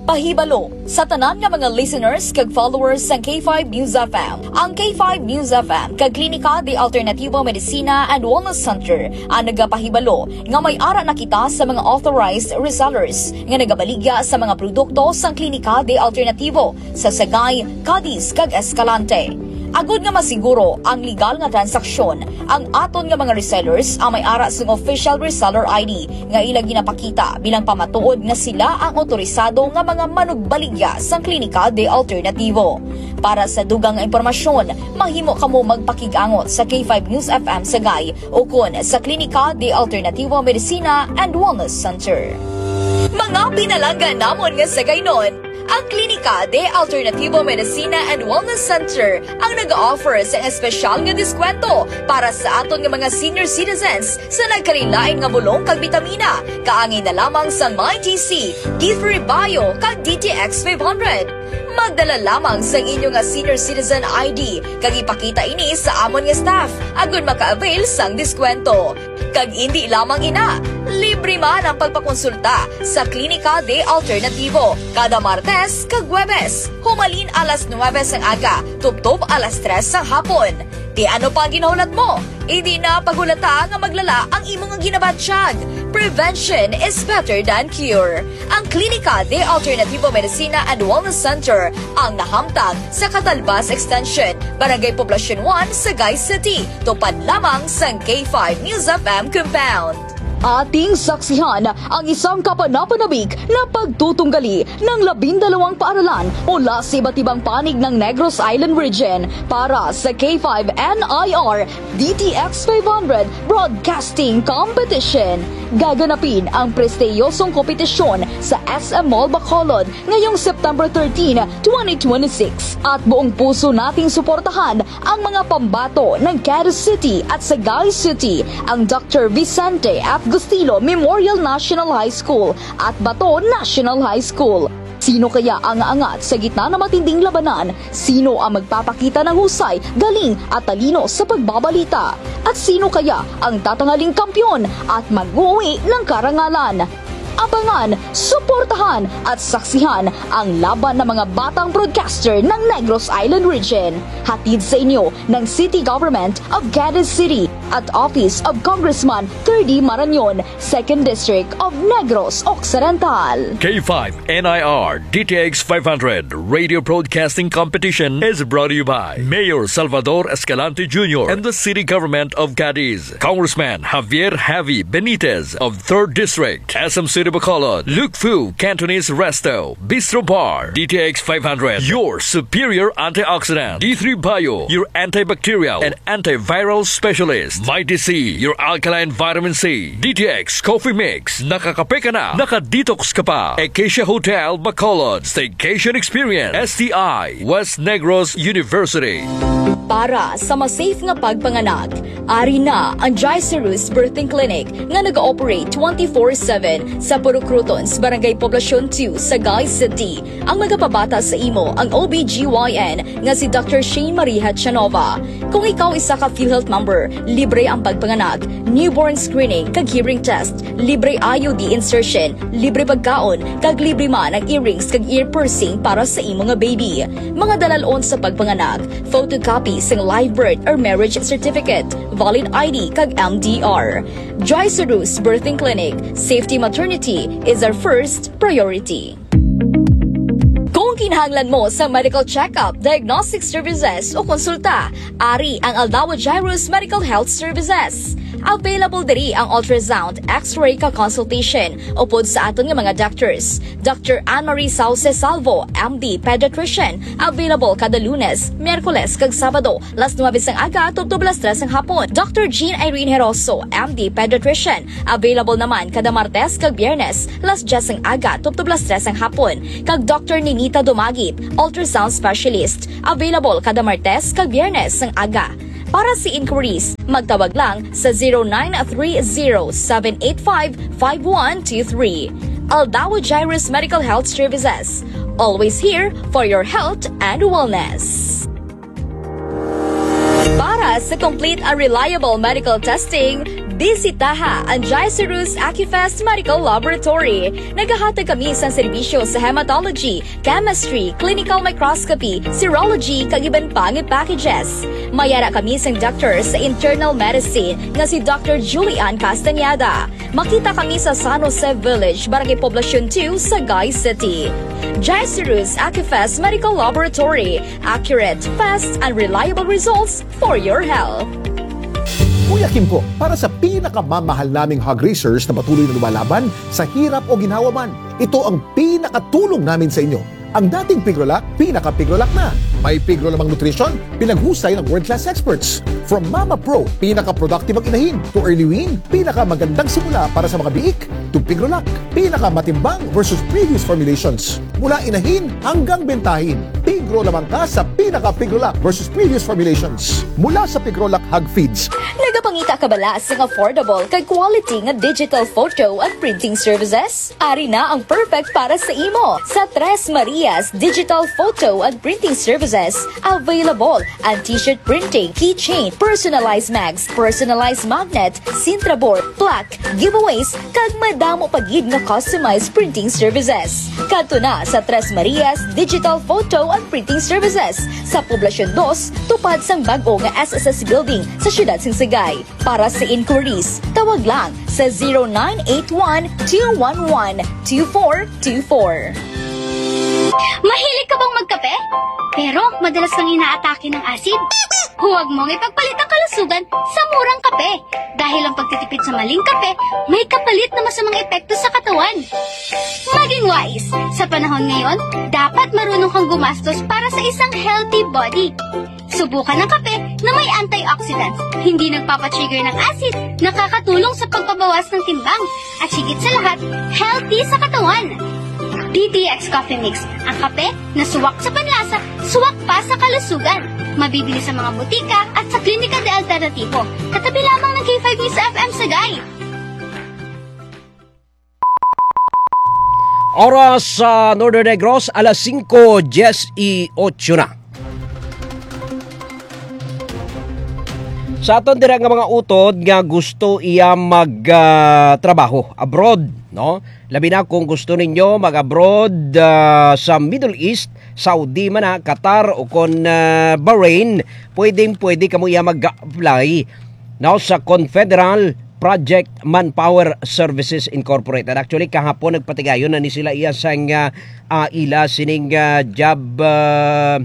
Pahibalo, sa tanan nga mga listeners kag followers sang K five News F M. Ang K five News F M kag Klinika de Alternativo Medicina and Wellness Center ang nagapahibalo nga may ara na kita sa mga authorized resellers nga nagabaligya sa mga produkto sang Klinika de Alternativo sa Sagay, Cadiz, kag Escalante. Agud nga masiguro ang legal nga transaksyon, ang aton nga mga resellers ang may ara sing official reseller I D nga ila ginapakita bilang pamatuod nga sila ang otorisado nga mga manugbaligya sang Klinika de Alternativo. Para sa dugang nga impormasyon, mahimo kamo magpakig-angot sa K five News F M Sagay ukon sa Klinika de Alternativo Medicina and Wellness Center. Mga pinalangga namon nga Sagaynon, Ang Klinika de Alternativo Medicina and Wellness Center ang nag-offer sa espesyal nga diskwento para sa aton nga mga senior citizens sa nagkalain-lain nga bulong kag bitamina, kaangay na lamang sang My G C, D three Bio, kag D T X five hundred. Magdala lamang sang inyo nga senior citizen I D kag ipakita ini sa amon nga staff agud maka-avail sang diskwento. Kag indi lamang ina, libre man ang pagpakonsulta sa Klinika de Alternativo kada Martes kag Huwebes, humalin alas nuwebe sang aga tubtob alas tres sang hapon. Ti ano pa ang ginahulat mo? Indi na paghulata nga maglala ang imo nga ginabatyag. Prevention is better than cure. Ang Klinika de Alternativo Medicina and Wellness Center ang nahamtang sa Catalbas Extension, Barangay Poblacion one, Sagay City, tupad lamang sang K five News F M compound. Ating saksihan ang isang kapanapanabik na pagtutunggali ng labindalawang paaralan mula sa iba't ibang panig ng Negros Island Region para sa K five N I R D T X five hundred Broadcasting Competition. Gaganapin ang prestiyosong kompetisyon sa S M Mall Bacolod ngayong September thirteen, twenty twenty-six. At buong puso nating suportahan ang mga pambato ng Cadiz City at Sagay City, ang Doctor Vicente F. Gustilo Memorial National High School at Bato National High School. Sino kaya ang aangat sa gitna ng matinding labanan? Sino ang magpapakita ng husay, galing at talino sa pagbabalita? At sino kaya ang tatangaling kampiyon at mag-uwi ng karangalan? Abangan, suportahan at saksihan ang laban ng mga batang broadcaster ng Negros Island Region. Hatid sa inyo ng City Government of Cadiz City at Office of Congressman Thirdy Marañon, Second District of Negros Occidental. K five N I R D T X five hundred Radio Broadcasting Competition is brought to you by Mayor Salvador Escalante Junior and the City Government of Cadiz, Congressman Javier Javi Benitez of Third District, S M City Bacolod, Lukfu Cantonese Resto, Bistro Bar, D T X five hundred, your superior antioxidant, D three Bio, your antibacterial and antiviral specialist, Mighty C, your alkaline vitamin C, D T X Coffee Mix, nakakape ka na, nakadetox ka pa, Acacia Hotel, Bacolod, Staycation Experience, S T I, West Negros University. Para sa mas safe nga pagpanganak, ari na ang Gicerus Birthing Clinic nga nag-ooperate twenty-four seven sa Purok Crotons, Barangay Poblacion two, Sagay City. Ang magapabata sa imo ang O B G Y N nga si Doctor Shane Marie Hachanova. Kung ikaw isa ka PhilHealth member, libre ang pagpanganak, newborn screening kag hearing test, libre I U D insertion, libre pagkaon, kag libre man ang earrings kag ear piercing para sa imo nga baby. Mga dalal-on sa pagpanganak, photocopy sang live birth or marriage certificate, valid I D kag M D R. Gicerus Birthing Clinic, safety maternity is our first priority. Kung kinahanglan mo sa medical check-up, diagnostic services o konsulta, ari ang Aldao Gicerus Medical Health Services. Available diri ang ultrasound, X-ray kag consultation upod sa aton nga mga doctors. Doctor Anne Marie Sauce Salvo, M D Pediatrician, available kada Lunes, Miyerkules kag Sabado, las nuebe sang aga tubtob las tres sang hapon. Doctor Jean Irene Heroso, M D Pediatrician, available naman kada Martes kag Biyernes, las dyes sang aga tubtob las tres sang hapon. Kag Doctor Ninita Dumagit, ultrasound specialist, available kada Martes kag Biyernes sang aga. Para sa inquiries, magtawag lang sa zero nine three zero seven eight five five one two three. Aldao Gicerus Medical Health Services, always here for your health and wellness. Para sa complete and reliable medical testing, bisitaha ang Gicerus Acufest Medical Laboratory. Nagahatag kami sang serbisyo sa hematology, chemistry, clinical microscopy, serology, kag iban pa nga packages. May ara kami sang doctor sa internal medicine nga si Doctor Julian Castañeda. Makita kami sa San Jose Village, Barangay Poblacion two, Sagay City. Gicerus Acufest Medical Laboratory, accurate, fast, and reliable results for your health. Kuya Kimpo, para sa pinakamamahal naming hog raisers na patuloy na lumalaban sa hirap o ginhawa man, ito ang pinakatulong namin sa inyo. Ang dating Pigrolac, pinaka-Pigrolac na. May Pigro Lamang Nutrition, pinaghusay ng world-class experts. From Mama Pro, pinaka-productive ang inahin, to Early Wean, pinakamagandang simula para sa mga biik, to Pigrolac, pinakamatimbang versus previous formulations. Mula inahin hanggang bentahin, Pigro lamang ka sa pinaka-Pigrolac versus previous formulations. Mula sa Pigrolac Hog Feeds. Nagapangita ka bala sang affordable kag quality nga digital photo and printing services? Ari na ang perfect para sa imo. Sa Tres Marias Digital Photo and Printing Services, available ang t-shirt printing, keychain, personalized mags, personalized magnet, cintraboard, plaque, giveaways, kag madamo pa gid nga customized printing services. Kadto na sa Tres Marias Digital Photo and Printing Services sa Poblacion Dos, tupad sang bag-o nga S S S Building sa siyudad sang Sagay. Para sa inquiries, tawag lang sa zero nine eight one two one one two four two four. Mahilig ka bang magkape? Pero madalas kang inaatake ng asid? Huwag mong ipagpalit ang kalusugan sa murang kape, dahil ang pagtitipid sa maling kape may kapalit na masamang epekto sa katawan. Maging wais. Sa panahon ngayon, dapat marunong kang gumastos para sa isang healthy body. Subukan ang kape na may antioxidants, hindi nagpapatrigger ng acid, nakakatulong sa pagpabawas ng timbang, at higit sa lahat, healthy sa katawan. D T X Coffee Mix, ang kape na suwak sa panlasa, suwak pa sa kalusugan. Mabibili sa mga butika at sa Klinika de Alternativo, katabi lamang ng K five News F M Sagay. Oras sa Northern Negros, alas singko dieciocho na. Sa aton dira nga mga utod nga gusto iya mag ah, trabaho abroad, no? Labi na kung gusto ninyo mag-abroad ah, sa Middle East, Saudi man na, Qatar o kon ah, Bahrain, pwedeng pwede kamo iya mag-apply, no, sa Confederal Project Manpower Services Incorporated. Actually, kahapon nagpatigayon na ni sila iya sang ah, ah, ila sining ah, job ah,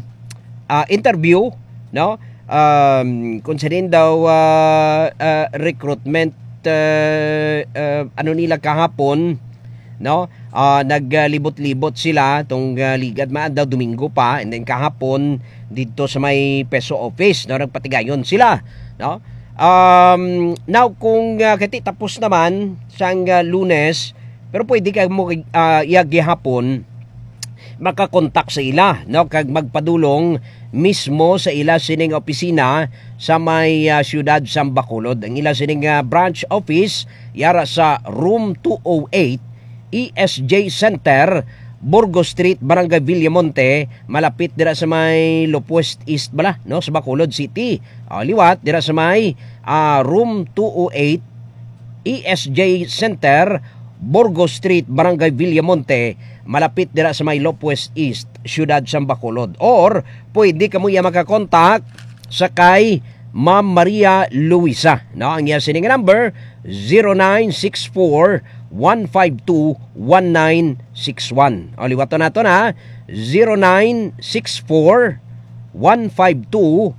ah, interview, no? Um, kung sinin daw ah, ah, recruitment ah, ah, ano nila kahapon, no? Ah, naglibot-libot sila tong ah, ligad man daw Domingo pa, and then kahapon didto sa may PESO office, no, nagpatigayon sila, no? Um, now kung ah, kati tapos naman sang ah, Lunes, pero pwede ka mo ah, iya gihapon makakontak sa ila, no, kag magpadulong mismo sa ila sining opisina sa may ah, siyudad sang Bacolod. Ang ila sining ah, branch office yara sa Room two oh eight, E S J Center, Burgos Street, Barangay Villamonte, malapit dira sa may Lopwest East bala, no, sa Bacolod City. Ah, liwat dira sa may ah, Room two oh eight, E S J Center, Burgos Street, Barangay Villamonte, malapit dira sa may Lopwest East, Siyudad sang Bacolod. Or pwede kamo iya makakontak sa kay Ma'am Maria Luisa, no? Ang iya sining number, zero nine six four, one five two, one nine six one. O, liwaton nato na, zero nine six four, one five two,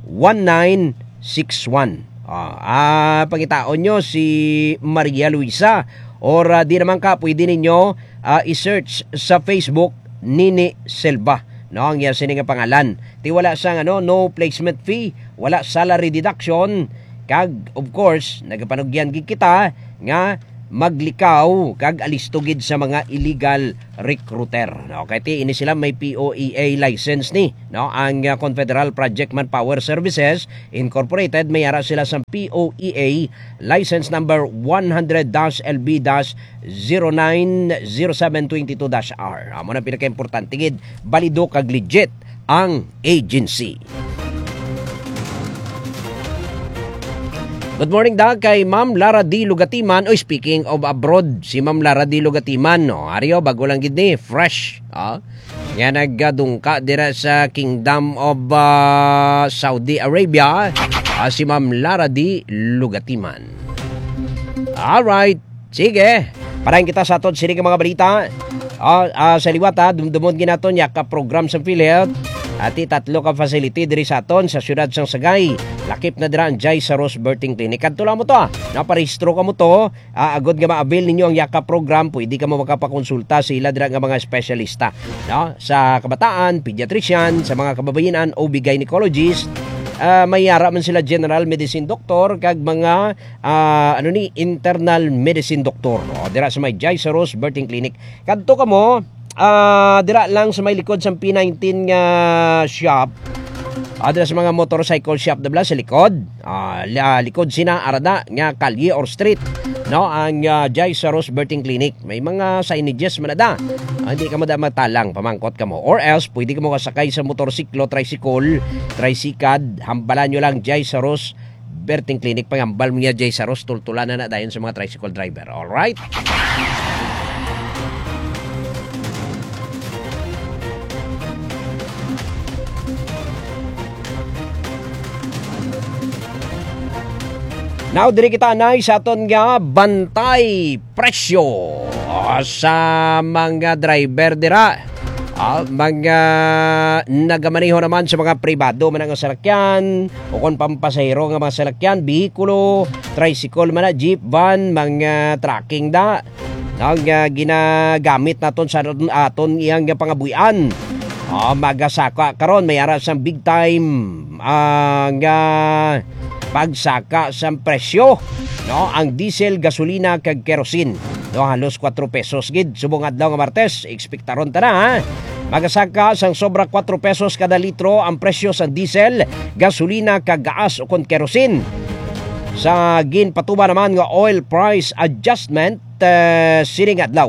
one nine six one. Ah, ah, pangitaon nyo si Maria Luisa, or ah, di naman ka, pwede ninyo ah, i-search sa Facebook, Nini Silva, no, ang iya sini nga pangalan. Ti wala sang ano, no placement fee, wala salary deduction, kag of course, nagapanugyan gid kita nga maglikaw kag alisto gid sa mga illegal recruiter, no? Kay ti ini sila may P O E A license ni, no? Ang ah, Confederal Project Manpower Services Incorporated, may ara sila sa P O E A license number one hundred dash L B dash zero nine zero seven twenty two dash R. Amo na pinakaimportante gid, balido kag legit ang agency. Good morning da kay Ma'am Lara D Lugatiman. Oy, speaking of abroad, si Ma'am Lara D Lugatiman, no. Ari o, bago lang gid ni, fresh. Ah. Nga nagdungka dira sa Kingdom of ah, Saudi Arabia, ah, si Ma'am Lara D Lugatiman. Alright. Sige. Parahin kita sa aton sini nga mga balita. Ah, ah, sa liwat ha, dumdumon gid naton ya ka program sa PhilHealth. Ati tatlo ka facility diri sa aton sa siyudad sang Sagay. Lakip na dira ang Jai Saros Birthing Clinic. Kadto lang mo to, ah. Naparehistro ka mo to. Ah, agod nga ma-avail ninyo ang Yakap program, pwede ka mo makapakonsulta sa ila dira nga mga espesyalista, no? Sa kabataan, pediatrician, sa mga kababayin-an, O B gynecologist, ah, may yara man sila general medicine doctor kag mga, ah, ano ni, internal medicine doctor, no? Dira sa may Jai Saros Birthing Clinic. Kadto ka mo, ah, dira lang sa may likod sa P nineteen nga shop. Ah, dira sa mga motorcycle shop na bala sa likod. Ah, la-, likod sina arada nga kalye or street, no, ang, ah, Jai Saros Birthing Clinic. May mga signages man ada. Ah, hindi ka mada matalang, pamangkot ka mo. Or else, pwede ka mo kasakay sa motorsiklo, tricycle, tricycad, hambalan nyo lang Jai Saros Birthing Clinic. Pangambal mo niya, Jai Saros, tultulan na na dayon sa mga tricycle driver. Alright? Now, diri kita anay sa aton nga bantay presyo sa mga driver dira. Ah, mga nagamaneho naman sa mga pribado man nga salakyan o kon pampasahero nga mga salakyan, behikulo, tricycle man na, jeep, van, mga trucking da. Ang, ah, ginagamit naton sa aton, aton iyang pangabuhian. Ah, magasaka karon, may ara sang big time, ah, nga pagsaka sang presyo, no? Ang diesel, gasolina, kag kerosene, no? Halos kwatro pesos gid. Subong adlaw nga Martes, ekspektaron ta na, ha? Magasaka sang sobra kwatro pesos kada litro ang presyo sang diesel, gasolina, kag gaas ukon kerosene. Sa ginpatuman naman nga oil price adjustment, eh, sining adlaw,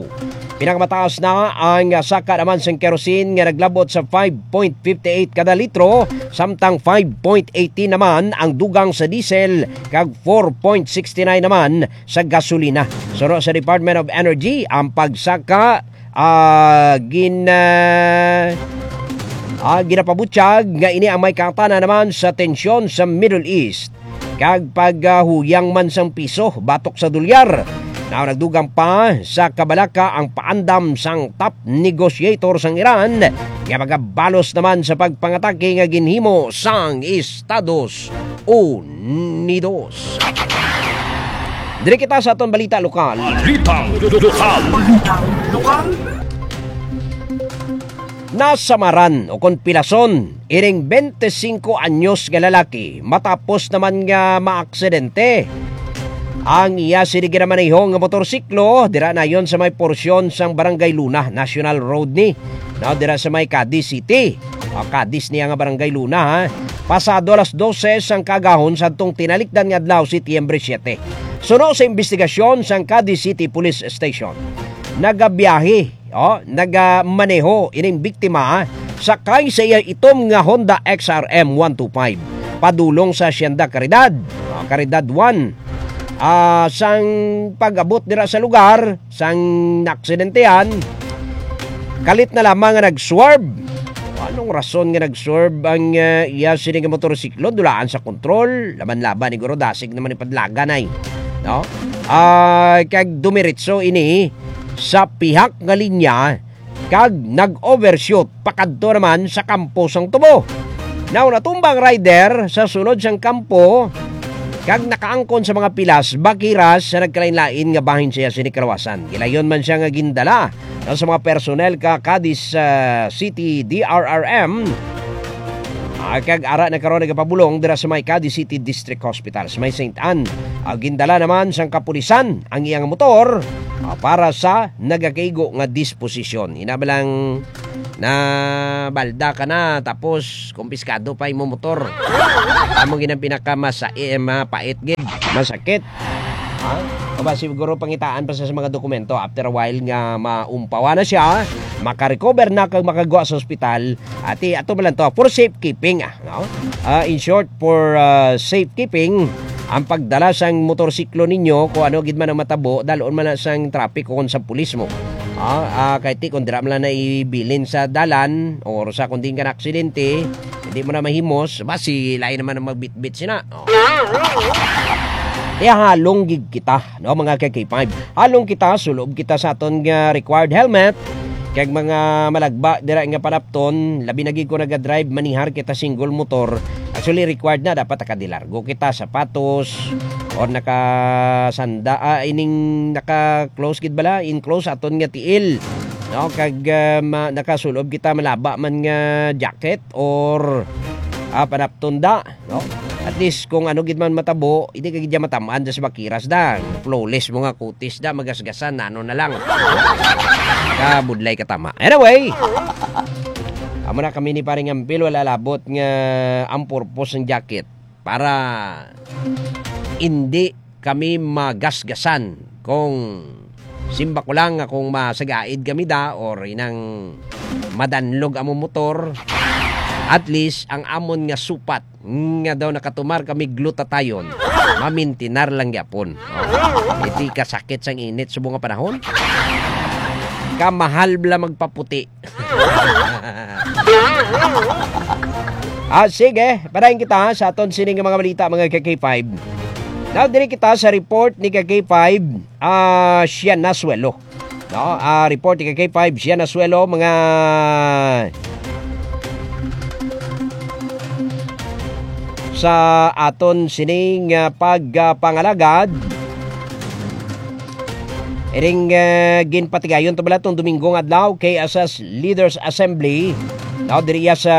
pinakamataas na ang saka naman sang kerosene nga naglabot sa five point fifty eight kada litro, samtang five point eighteen naman ang dugang sa diesel, kag four point sixty nine naman sa gasolina. Suno sa Department of Energy, ang pagsaka, ah, gin-, ah, ah, ginapabutyag nga ini ang may kaangtanan naman sa tensyon sa Middle East kag paghuyang man sang piso batok sa dolyar. Now, nagdugang pa sa kabalaka ang paandam sang top negotiator sang Iran nga magabalos naman sa pagpangatake nga ginhimo sang Estados Unidos. Diri kita sa aton balita lokal. Balitang lokal. Balitang lokal. Nasamaran o kon pilason ining twenty-five anyos nga lalaki matapos naman nga maaksidente ang iya sini ginamaneho nga motorsiklo dira nayon sa may porsyon sang Barangay Luna, National Road ni, no, dira sa may Cadiz City. O, Cadiz niya nga Barangay Luna, ha. Pasado alas dose sang kaagahon sadtong tinalikdan nga adlaw, Setyembre siete. Suno sa imbestigasyon sang Cadiz City Police Station, nagabiyahe, o, nagamaneho ining biktima sakay sa iya itom nga Honda X R M one two five padulong sa Hacienda Caridad, o, Caridad one. Ah, sang pag-abot dira sa lugar sang naaksidentehan, kalit na lamang nga nag-swerve. Anong rason nga nag-swerve ang, ah, iya sini nga motorsiklo? Dulaan sa kontrol, laban-laban ni guro, dasig naman ni padlagan ay, no? Ah, kag dumiretso ini sa pihak nga linya kag nag-overshoot pakadto naman sa kampo sang tubo. Now, natumba ang rider sa sulod sang kampo kag nakaangkon sa mga pilas, bakiras sa nagkalain-lain nga bahin sa iya sini kalawasan. Gilayon man siya nga gindala, no, sa mga personnel ka Cadiz, ah, City D R R M, ah, kag ara na karon nagapabulong dira sa may Cadiz City District Hospital sa may Saint Anne. Ah, gindala naman sang kapulisan ang iyang motor, ah, para sa nagakaigo nga disposisyon. Ina ba lang na balda ka na, tapos kumpiskado pa imo motor? Amo gid ang pinaka masa-, eh, mapait gid, masakit. Ha? O ba, siguro pangitaan pa sa, sa mga dokumento. After a while nga maumpawa na siya, makarecover na kag makagwa sa ospital. Ati, ato ba lang to? For safekeeping, ah, no? Ah, in short, for, ah, safekeeping, ang pagdala sang motorsiklo ninyo, kung ano gid man ang matabo, dalon man na sang traffic o kung sa pulis mo. Ah, ah, kay ti, kung dira man lang na ibilin sa dalan, or sa kung diin ka na aksidente, hindi mo na mahimos, basi lain naman ang magbitbit sina. Oh. Kaya halong gid kita, no, mga ka K five. Halong kita, sulob kita sa aton nga required helmet, Kag mga malagba dira nga panapton, labi na gid kung naga-drive, manihar kita single motor. Actually, required na, dapat nakadilargo kita, sapatos, or nakasanda, ah, ining naka-close gid bala, enclosed aton nga tiil. No, kag, ah, ma-, nakasulob kita, malaba man nga jacket or, ah, panapton da, no? At least, kung ano gid man matabo, hindi ka gid dyan matamaan dyan sa bakiras da. Flawless mo nga kutis da, magasgasan, ano na lang. Kabudlay ka tama. Anyway, amo na kami ni Paring Ampil, wala labot nga ang purpose ng jacket para hindi kami magasgasan kung simba ko lang nga kung masagaid kami da or inang madanlog among motor, at least ang amon nga supat nga daw nakatumar kami glutathione, mamintinar lang gyapon. Oh. Iti kasakit sang init subong nga panahon. Kamahal bala magpaputi. Ah, sige, padayon kita sa aton sini nga mga balita, mga ka K five. Now, diri kita sa report ni ka K five, ah, Siya Nasuelo. No, ah, report ni ka K five, Siya Nasuelo, mga sa aton sining, ah, pagpangalagad. Iring, eh, ginpatigayon to bala tong Domingo nga adlaw, K S S Leaders Assembly, no, diriya sa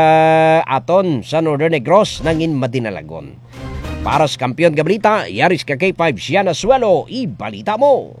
aton sa Northern Negros, nangin madinalagon. Para sa Kampiyon nga Balita, yari si ka K five, Siya Nasuelo, ibalita mo.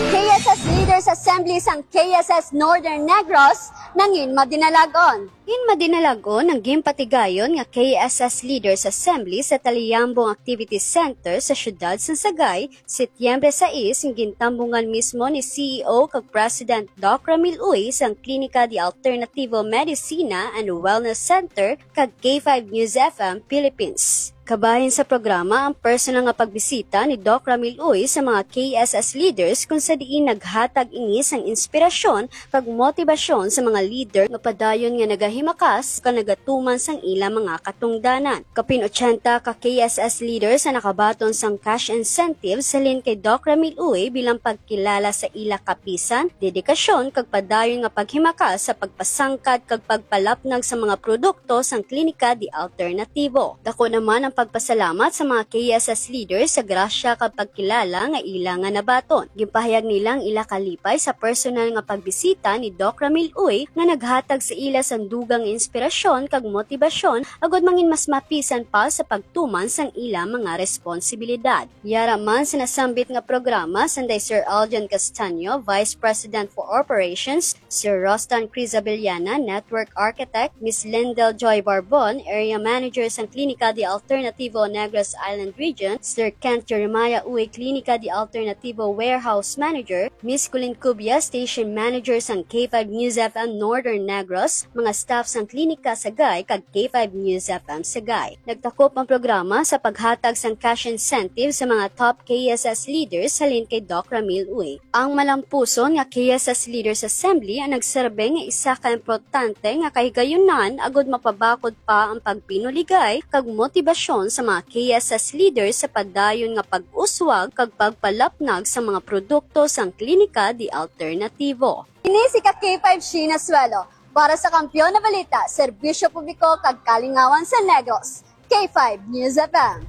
K S S Leaders Assembly sang K S S Northern Negros, nangin madinalagon. In madinalagon ang ginpatigayon nga K S S Leaders Assembly sa Taliyambong Activity Center sa siyudad sang Sagay, Setyembre sais, nga gintambungan mismo ni C E O kag President Doc Ramil Uy sang Klinika de Alternativo Medicina and Wellness Center kag K five News F M Philippines. Kabahin sa programa ang personal nga pagbisita ni Doc Ramil Uy sa mga K S S leaders, kung sa diin naghatag ini sang inspirasyon kag motibasyon sa mga leader nga padayon nga nagahimakas kag nagatuman sang ila mga katungdanan. Kapin ochenta ka K S S leaders ang nakabaton sang cash incentive halin kay Doc Ramil Uy bilang pagkilala sa ila kapisan, dedikasyon, kag padayon nga paghimakas sa pagpasangkad kag pagpalapnag sa mga produkto sang Klinika de Alternativo. Dako naman ang pagpasalamat sa mga K S S leaders sa grasya kag pagkilala nga ila nga nabaton. Ginpahayag nila ang ila kalipay sa personal nga pagbisita ni Doc Ramil Uy nga naghatag sa ila sang dugang inspirasyon kag motibasyon agud mangin mas mapisan pa sa pagtuman sang ila mga responsibilidad. Yara man sa nasambit nga programa, sanday Sir Aljon Castaño, Vice President for Operations, Sir Rostan Crizabellana, Network Architect, Miss Lendel Joy Barbon, Area Manager sang Klinika de Alternativo Negros Island Region, Sir Kent Jeremiah Uy, Klinika de Alternativo Warehouse Manager, Miss Colleen Cubia, Station Manager sang K five News F M Northern Negros, mga staff sang Klinika Sagay kag K five News F M Sagay. Nagtakop ang programa sa paghatag sang cash incentive sa mga top K S S leaders halin kay Doc Ramil Uy. Ang malampuson nga K S S Leaders Assembly ang nagserbe nga isa ka importante nga kahigayunan agud mapabakod pa ang pagpinuligay kag motibasyon sa mga K S S leaders sa padayon nga pag-uswag kag pagpalapnag sa mga produkto sang Klinika de Alternativo. Ini si ka K five Sheena Suelo para sa Kampiyon na Balita, Serbisyo Publiko kag Kalingawan sa Negros, K five News F M.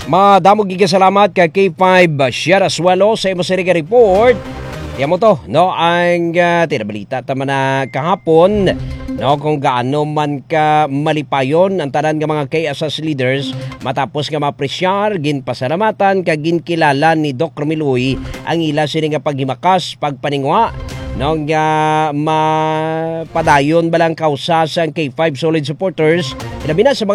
Madamo gid nga salamat kay K five Sierra Suelo sa imo sini nga report. Iya mo to, no, ang, ah, tinabalita ta man na kahapon, no, kung gaano man ka malipayon ang tanan nga mga K S S leaders matapos nga maapresyar, ginpasalamatan kag ginkilala ni Doc Romel Uy ang ila sini nga paghimakas, pagpaninguha, no, nga mapadayon ba lang kausa sang K five solid supporters, ilabi na sa mga